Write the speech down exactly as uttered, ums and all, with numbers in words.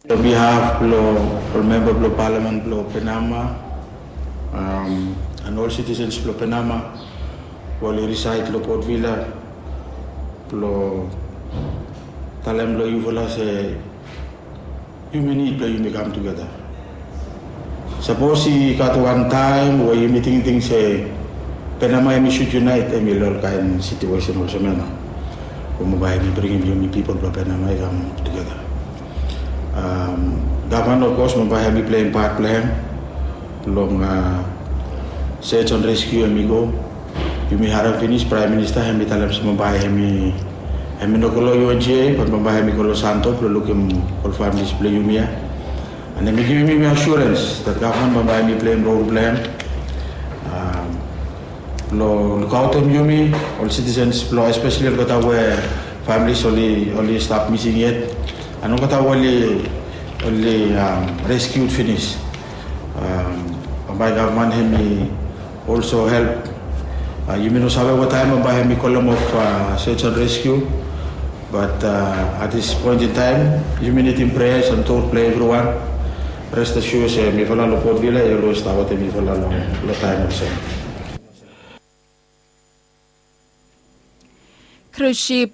Long bihaf blong ol memba blong palamen blong Penama, an ol sitisens blong Penama we oli risaed long Port Vila, blong talem long yufala se yumi nid blong yumi kam tugeta. Sapos i gat wan taem we yumi tingting se Penama hemi sud yunaet, hemi long ol kaen situesen olsem ia nao, we bambae hemi bringim yumi pipol blong Penama i kam tugeta. Gavman, of course, bambae hemi pleim pat blong hem long search and rescue hemi go. Yumi harem finis Praem Minista hemi talem se bambae hemi, hemi no go long U N G A, bat bambae hemi go long Santo blong lukim ol families blong yumi ia. An hemi givim yumi asurens dat gavman bambae hemi pleim rol blong hem blong lukaotem yumi ol sitisens blong, espeseli olgeta we families oli, oli stap mising yet, an olgeta we oli, oli reskiud finis. Bambae gavman hemi also help. Yumi no save wataem bambae hemi kolem of search and rescue. Bat at this point in time, yumi nidim preas an tok blong evriwan. Rest assured se mifala long Port Vila i olwes stap wetem mifala long, long taem olsem. Cruise ship